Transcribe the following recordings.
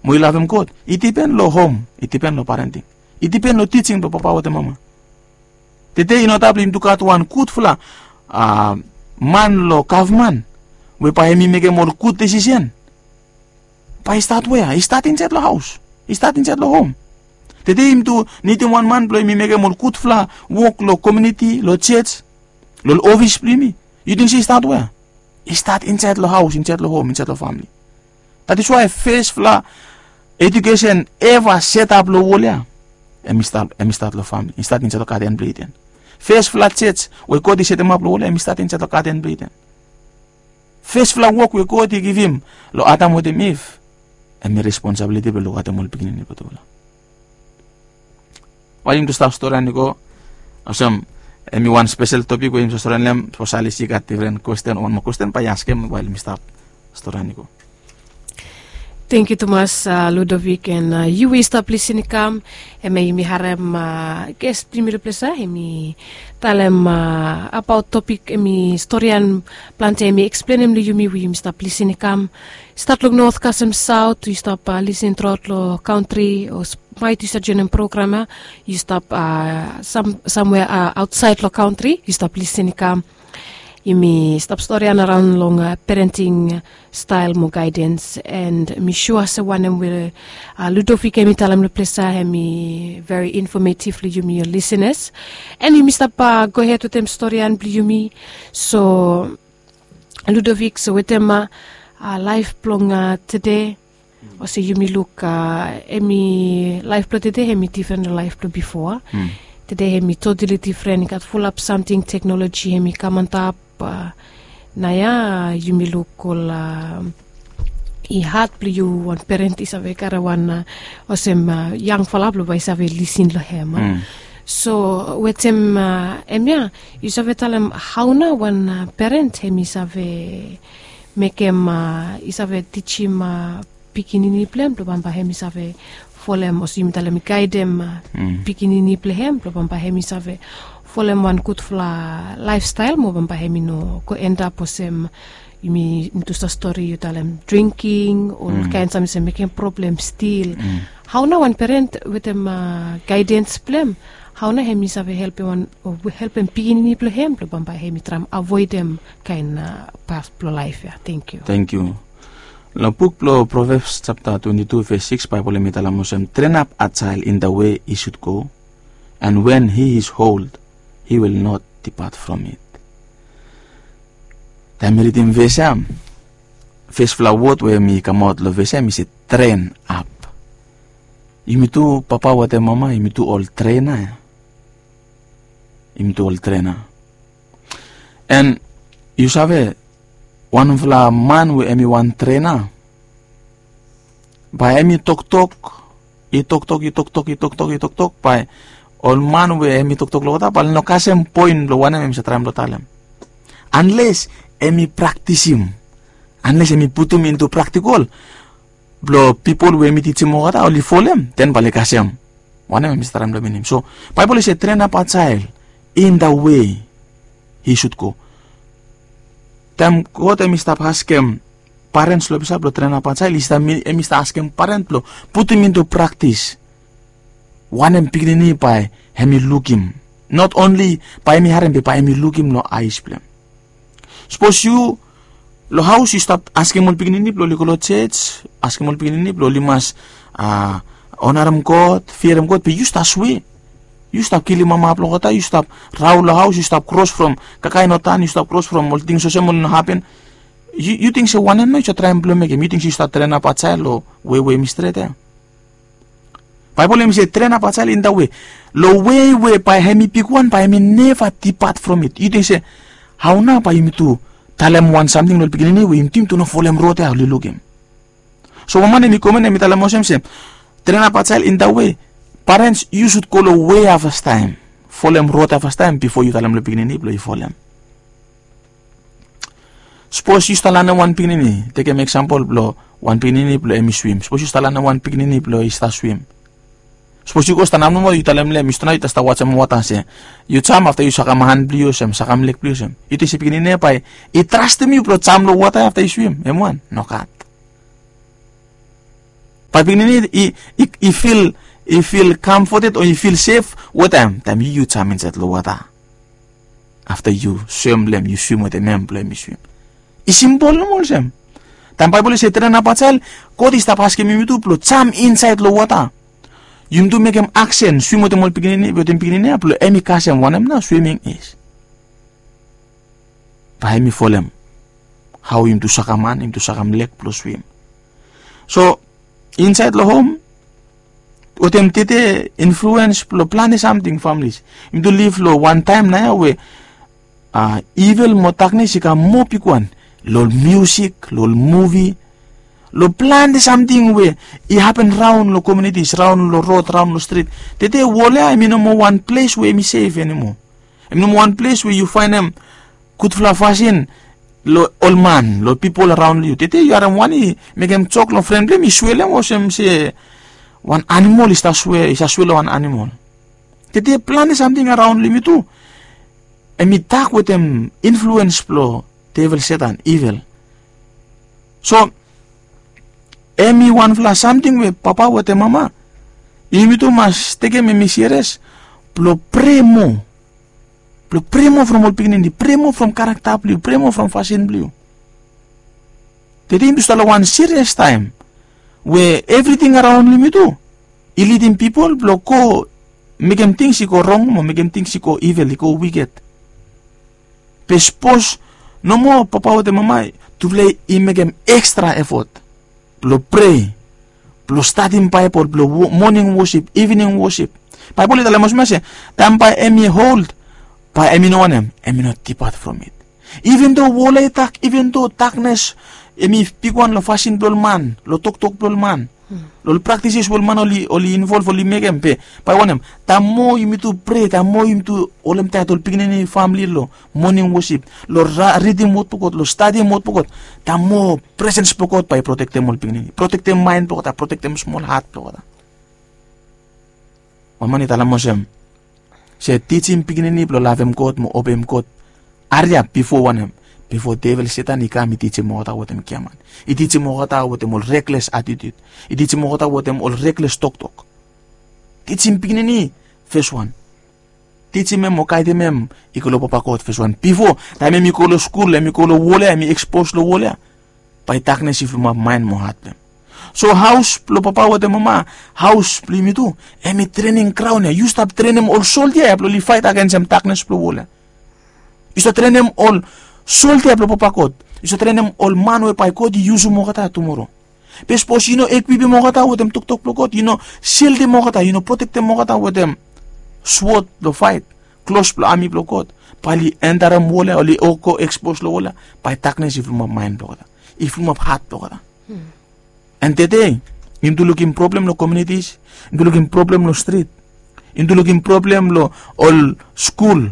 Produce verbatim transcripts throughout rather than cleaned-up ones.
mo i lavem God, i dipen long hom, i dipen long parenting, i dipen long tijing blong papa wetem mama. Tede i no stap long yumi tu gat wan gudfala man long gavman we bae hem i mekem ol gud desisen. Bae i stat wea? I stat insaed long haos, i stat insaed long hom. Tede yumi tu nidim wan man blong hem i mekem ol gudfala wok long komiuniti, long jos, long ol ofis blong yumi. Yu ting se i stat wea? I stat insaed long haos, insaed long hom, insaed long famili. That is why fesfala edukesen eva setap long wol ya, hem i stat long famili, i stat insaed long gaden blong Iden. Fesfala jos we God i setemap long wol ya, hem i stat insaed long gaden blong Iden. Fesfala wok we God i givim long Adam wetem Iv, hem i responsabiliti blong lukaotem ol pikinini blong tufala. Wael yumi tu stap storian i go, olsem hem i wan spesel topik we yumi stap storian long hem. Sapos Alice i gat difren kwesten o wan moa kwesten, bae i askem wael yumi stap storian i go. Tangkiu tumas, Ludovic, and yu we i stap lisin i kam, hem yumi harem ges blong yumi long ples ya, hem i talem abaot topik, hem i storian plante, hem i eksplenem long yumi we yumi stap lisin i kam. Stat long not kasem saot, yu stap lisin truaot long kantri, o maet yu stap joenem program ya, yu stap samwea aotsaed long kantri, yu stap lisin i kam. Yumi stap storian araon long parenting stael mo gaedens, and mi sua se wanem we Ludovic hem i talem long ples ya, hem i veri infometiv long yumi, ol lisenas. And yumi stap gohed wetem storian blong yumi. So Ludovic, so wetem laef blong tede, olsem yumi luk, hem i, laef blong tede hem i difren long laef blong bifo. Tede hem i totali difren, i gat fulap samting, teknoloji hem i kam antap. Naoia yumi luk ol, i had blong yu wan peren i save karem wan, olsem, yangfala blong bae i save lisin long hem. So wetem hemia, yu save talem hao nao wan peren hem i save mekem, i save tijim pikinini blong hem blong bambae hem i save folem, olsem yumi talem, i gaedem pikinini blong hem blong bambae hem i save folem wan gudfala laefstael mo bambae hem i no go endap olsem yumi tu stap stori, yu talem dringking, olkaen samting i save mekem problem stil. Hao nao wan peren wetem gaedens blong hem, hao nao hem i save helpem wan, o helpem pikinini blong hem blong bambae hem i traem avoedem kaen pas blong laef ya. Tangkiu. Tangkiu. Long buk blong Proverbs japta twenti tu ves sikis, Baebol hem i talem olsem, "Train up a child in the way he should go, and when he is old, he will not depart from it." Taem mi ridim ves ya, fesfala wod we hem i kamaot long ves ya hem i se train up. Yumi tu papa wetem mama, yumi tu ol trena ya. Yumi tu ol trena. And yu save, wanfala man we hem i wan trena, bae hem i toktok, i toktok, i toktok, i toktok, i toktok, bae ol man we hem i toktok long olgeta bae oli no kasem poen blong wanem hem i save traem blong talem. Anles hem i praktisim, anles hem i putum into praktikol blong pipol we hem i tijim olgeta oli folem, den bae oli kasem wanem hem i save traem blong minim. So Baebol i se, "Train up a child in the way he should go." Taem God hem i stap askem parens long ples ya blong train up a child, hem i stap askem parens blong putum into praktis wanem pikinini bae hem i lukim. Not only bae hem i harem, be bae hem i lukim long aes blong hem. Sapos yu long haos yu stap askem ol pikinini blong oli go long jos, askem ol pikinini blong oli mas onarem God, fiarem God, be yu stap swe. Yu stap kilim mama blong olgeta, yu stap raol long haos, yu stap kros from kakae no tan, yu stap kros from ol tings olsem oli no hapen. Yu ting se wanem nao yu save traem blong mekem? Yu ting se yu stap traen ap a jael long wei we hem i stret ya? Baebol hem i se traen ap a jael in da wei, long wei we bae hem i bigwan, bae hem i neva dipat from it. Yu ting se hao nao bae yumi tu talem wan samting long ol pikinini we yumi tu no folem rod ya oli lukim? So wan man hem i komen hem i talem olsem se traen ap a jael in da wei. Parens, yu sud go long wei ya fastaem, folem rod ya fastaem bifo yu talem long pikinini blong yu folem. Sapos yu stap lanem wan pikinini, tekem eksampol blong wan pikinini blong hem i swim. Sapos yu stap lanem wan pikinini blong i stap swim. Sapos yu go stanap nomo, yu talem long hem, yu stanap, yu stap wajem wota se yu jam, afta yu sakam han blong yu olsem, sakam leg blong yu olsem. Yu ting se pikinini ya bae i trastem yu blong jam long wota ya afta yu swim? Hem wan? Nogat. Pikinini i fil i fil kamfoted o i fil sef wetem taem yu yu jam insaed long wota. Afta yu swem long em, yu swim wetem em blong em i swim. I simpol nomo olsem. Taem baebol i se tren abajael, god i stap askem yumi tu blong jam insaed long wota. Yumi tu mekem aksen swim wetem ol pikinini wetem pikinini ya blong em i kasem wanem nao swiming is. Bae em i folem hao yumi tu sakaman yumi tu sakam lek blong swim. So insaed long hom wetem tete influens blong plante samting familis. Yumi tu liv long wan taem nao ya we a ivel mo daknes i kam moa bigwan long ol miusik long ol muvi, long plante samting we i hapen raon long komiunitis raon long rod raon long strit. Tete wol ya em i no moa wan ples we em i sef animo. Em i no moa wan ples we yu faenem gudfala fasin long ol man long pipol araon long yu. Tete yu harem wan i mekem jok long fren blong em i swelem olsem se wan animol i save swe long wan animol. Tete plante samting araon long yumi tu em i tak wetem influens blong devel setan ivel. So em i wanfala samting we papa wetem mama yumi tu mas tekem em i siris blong prea moa. Blong prea moa from ol pikinini prea moa from karakta blong yu prea moa from fasin blong yu. Tete yumi tu stap long wan sirias taem we evriting araon long yumi tu i lidim pipol blong go mekem tings i go rong mo mekem tings i go ivel i go wiket. Be sapos nomo papa wetem mama tufala i mekem ekstra efot blong prea blong stadim baebol blong moning wosip ivining wosip. Baebol i talem olsem ya se taem bae em i hold bae em i no wanem em i no tipat from it. Iven do wol ya i tak iven do daknes em i bigwan long fasin blong ol man long toktok blong ol man long ol praktisis we ol man oli involv oli mekem be bae wanem taem moa yumi tu prea taem moa yumi tu holemtaet ol pikinini famili long moning wosip long ridim wod blong god long stadim wod blong god taem moa presens blong god bae i protektem ol pikinini protektem maen blong god a protektem smol hat blong god a. Wan man i talem olsem se tijim pikinini blong lavem god mo obeim god. Hariap bifo wanem? Bifo devel setan i kam i tijim olgeta wetem giaman, i tijim olgeta wetem ol rekles atitut, i tijim olgeta wetem ol rekles toktok. Tijim pikinini feswan. Tijim em o gaidem em i go long papa god feswan bifo taem em i go long skul em i go long wol ya em i ekspos long wol ya. Bae daknes i fulumap maen mo hat blong em. So haos blong papa wetem mama, haos blong yumi tu, em i trening graon ya yu stap trenem ol soldia ya blong oli faet agens em daknes blong wol ya. Yu stap trenem ol soldia blong papa god. Yu stap trenem ol man we bae god i yusum olgeta tumoro. Be sapos yu no ekwipim olgeta wetem toktok blong god yu no sildim olgeta yu no protektem olgeta wetem swod blong faet, klos blong ami blong god, bae oli entarem wol ya oli go ekspos long wol ya. Bae daknes i fulumap maen blong olgeta, i fulumap hat blong olgeta. An tede yumi tu lukim problem long komiunitis, yumi tu lukim problem long strit, yumi tu lukim problem long ol skul.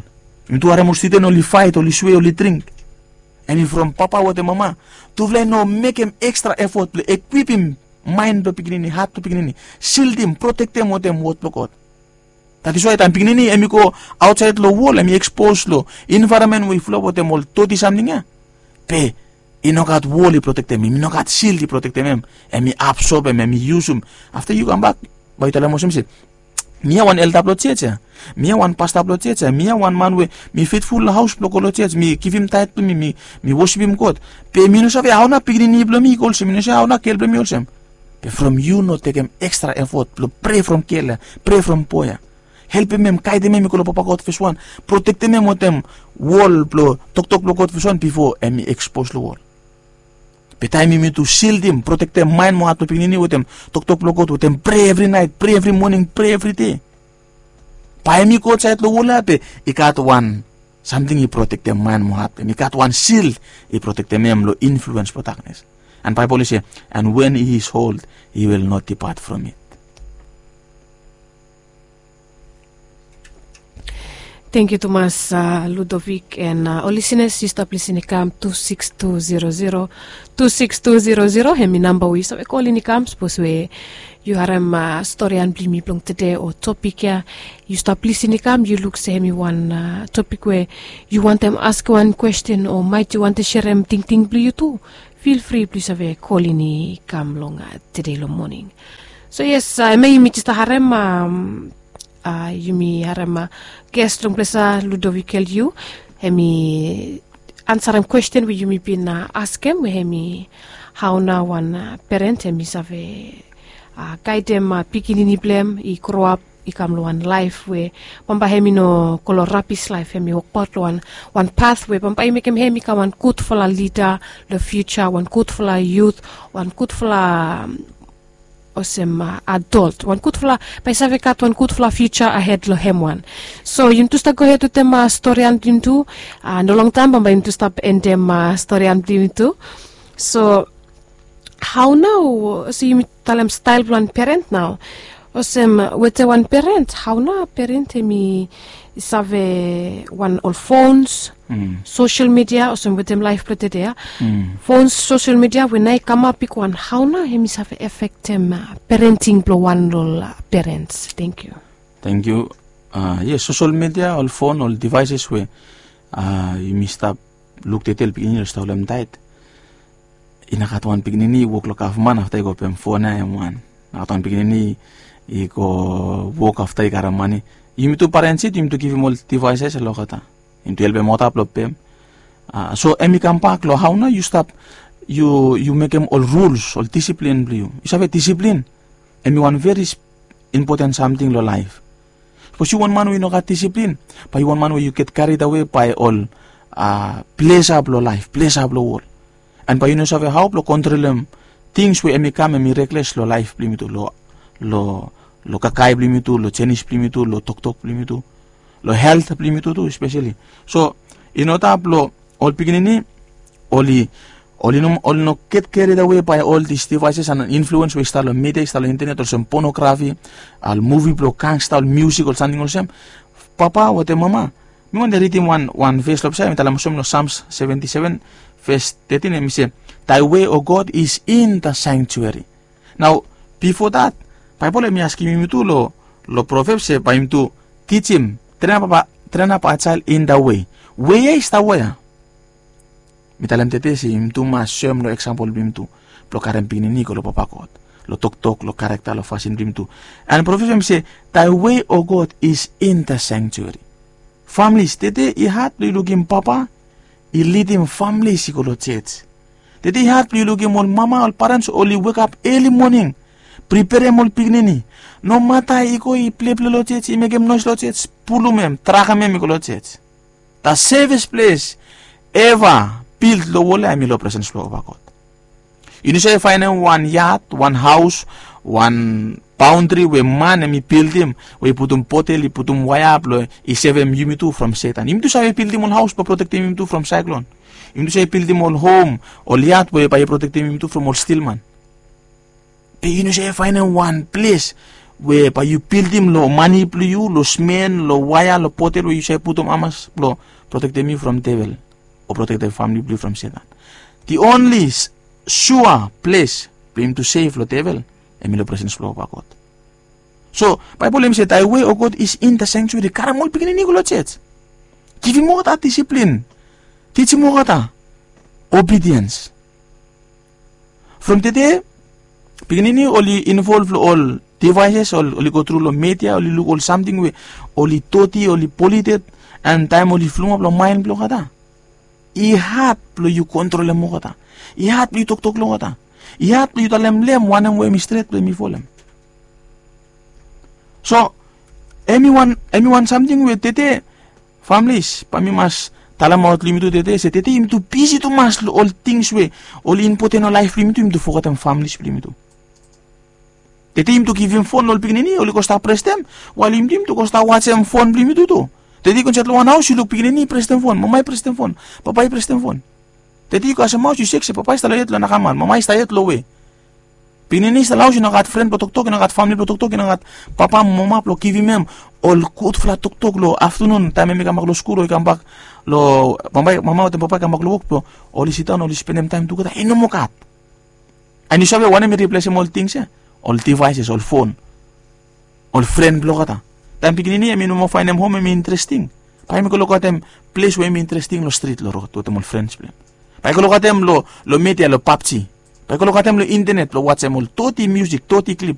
Yumi tu harem ol studen oli faet oli swe oli dring. Em i from papa wetem mama, tufala i no mekem ekstra efot blong ekwipim maen blong pikinini hat blong pikinini, sildim protektem wetem wod blong god. That is wai taem pikinini em i go aotsaed long wol em i ekspos long envaeronmen we i fulap wetem ol doti samting ya, be i no gat wol i protektem em i no gat sild i protektem em. Em i absobem em i yusum. Afta yu kambak bae yu talem olsem se mi ya wan elda blong jej ya, mi ya wan pasta blong jej ya, mi ya wan man we mi fetful long haos blong go long jej mi givim taet blong mi mi wosipim god. Be mi no save hao nao pikinini blong mi i go olsem mi no save hao nao gel blong mi olsem. Be from yu no tekem ekstra efot blong prea from gel ya, prea from boe ya, helpem em gaidem em i go long papa god fes wan, protektem em wantaem wol blong toktok blong god fes wan bifo em i ekspos long wol. Be taem yumi tu sildim protektem maen mo hat blong pikinini wantaem toktok blong god wantaem prea evri naet prea evri moning prea evri dei, bae em i go aotsaed long wol ya be i gat wan samting i protektem maen mo hat blong em i gat wan sil i protektem em long influens blong daknes. An baebol i se, an wen i is hold i wil not dipat from it. Tengkiu tumas, ludovik an ol lisinas yu stap lisin i kam tu sikis tu zero zero, tu sikis tu zero zero hem i namba we yu save kolin i kam sapos we yu harem storian blong yumi blong tede o topik ya. Yu stap lisin i kam yu luk se hem i wan topik we yu wantem ask wan kwesten o maet yu wantem serem tingting blong yu tu. feel free blong yu save kolin i kam long tede long moning. So yes, em ya yumi jes harem, yumi harem ges long plesa Ludovikel yu, em i ansarem kwesten we yumi bin askem we em i hau nao wan peren em i save gaidem pikinini blong em i groap i kam long wan laef we bambae em i no go long rapis laef, em i wokbaot long wan pat we bambae i mekem em i kam wan gudfala lida long fiuja, wan gudfala yut, wan gudfala olsem adolt, wan gudfala, bae i save gat wan gudfala fiuja ahed long em wan. So yumi tu stap gohed wetem storian blong yumi tu. No longtaem bambae yumi tu stap endem storian blong yumi tu. So hau nao olsem yumi talem stael blong wan peren nao, olsem wetem wan peren, hau nao peren em i save wan ol fons, sosel midia olsem wetem laef blong tede ya, fons, sosel midia we nao i kamap bigwan, hau nao em i save efektem perenting blong wan long ol perens? Tangkiu. Tangkiu. Yes, sosel midia, ol fon, ol devaeses we yumi stap luk tede ol pikinini oli stap holem taet. I no gat wan pikinini i wok long gavman afta i go pem fon ya em wan. I no gat wan pikinini i go wok afta i karem mane. Yumi tu parens yet yumi tu givim ol devaeses long olgeta, yumi tu helpem olgeta blong pem. So em i kambak long hau nao yu stap, yu mekem ol ruls, ol disiplin blong yu. Yu save disiplin em i wan veri impoten samting long laef. Sapos yu wan man we i no gat disiplin, bae yu wan man we yu get kared awe bae ol plesa blong laef, plesa blong wol, an bae yu no save hau blong kontrolem tings we em i kam em i rekles long laef blong yumi tu, long kakae blong yumi tu, long jenis blong yumi tu, long toktok blong yumi tu, long helt blong yumi tu tu espeseli. So i no tap long ol pikinini oli oli no get kared awe bae ol dis devaeses an influens we i stap long midia, i stap long intenet, olsem ponografi, ol muvi blong gangsta, ol miusik, ol samting olsem. Papa wetem mama, mi wantem ridim wan ves long ples ya, em i talem olsem long Sams seventi seven ves tetin, em i se, "Thy way, O God, is in the sanctuary." Nao bifo dat, Baebol em i askem yumi tu long Provebs se bae yumi tu tijim, train up a child in the way. We ya i stap we ya? Mi talem tede se yumi tu mas soem long eksampol blong yumi tu blong karem pikinini i go long Papa God, long toktok, long karakta, long fasin blong yumi tu. An Provebs em i se, "Thy way, O God, is in the sanctuary." Famlis, tede i had blong yu lukim papa i lidim famlis i go long jos. Tede i had blong yu lukim ol mama, ol parens oli wekap eli moning, priperem ol pikinini. Nomata i go i pleple long jos, i mekem noes long jos, pulum em, trakem em i go long jos. The safest place ever built long wol ya em i long presens blong Papa God. Yu no save faenem wan yad, wan haos, wan baondri we man em i bildim, we i putum potel, i putum waea blong i sevem yumi tu from Setan. Yumi tu save bildim ol haos blong protektem yumi tu from saeklon. Yumi tu save bildim ol hom, ol yad we bae i protektem yumi tu from ol stilman. Be yu no save faenem wan ples we bae yu bildim long mane blong yu, long smen, long waea, long potel we yu save putum hamas blong protektem yu from devel o protektem famili blong yu from Setan. The only sua ples blong yumi tu sef long devel em i long presens blong Papa God. So Baebol em i se, "Thy way, O God, is in the sanctuary." Karem ol pikinini i go long jos. Givim olgeta disiplin. Tijim olgeta obediens. From tede pikinini oli involv long ol devaeses, oli go tru long media, oli luk ol samting we oli doti, oli polited, an taem oli flumap long maen blong olgeta, i had blong yu kontrolem olgeta. I had blong yu toktok long olgeta. I had blong yu talem long em wanem we em i stret blong em i folem. So em i wan, em i wan samting we tede familis, bae mi mas talemaot long yumi tu tede se tede yumi tu bisi tumas long ol tings we oli impoten long laef blong yumi tu, yumi tu fogetem familis blong yumi tu. Tede yumi tu givim fon long ol pikinini, oli go stap prestem, wael yumi tu yumi tu go stap wajem fon blong yumi tu tu. Tede yu go insaed long wan haos, yu luk pikinini i prestem fon, mama i prestem fon, papa i prestem fon. Tede yu kasem haos, yu sek se papa i stap long yet long nakamal, mama i stap yet long we. Pikinini i stap long haos, i no gat fren blong toktok, i no gat famili blong toktok, i no gat papa mo mama blong givim hem ol gudfala toktok long aftanun taem hem i kambak long skul o i kambak long, mama wetem papa i kambak long wok blong oli sidaon oli spendem taem tugeta, i no moa gat. An yu save wanem i riplesem ol tings ya? Ol devaeses, ol fon, ol fren blong olgeta. Taem pikinini hem i no moa faenem hom hem i interesting, bae hem i go lukaotem ples we hem i interesting long strit, long rod wetem ol frens blong hem. Bae i go lokatem long media long pabji. Bae i go lokatem long intenet blong wajem ol doti miusik, doti klip.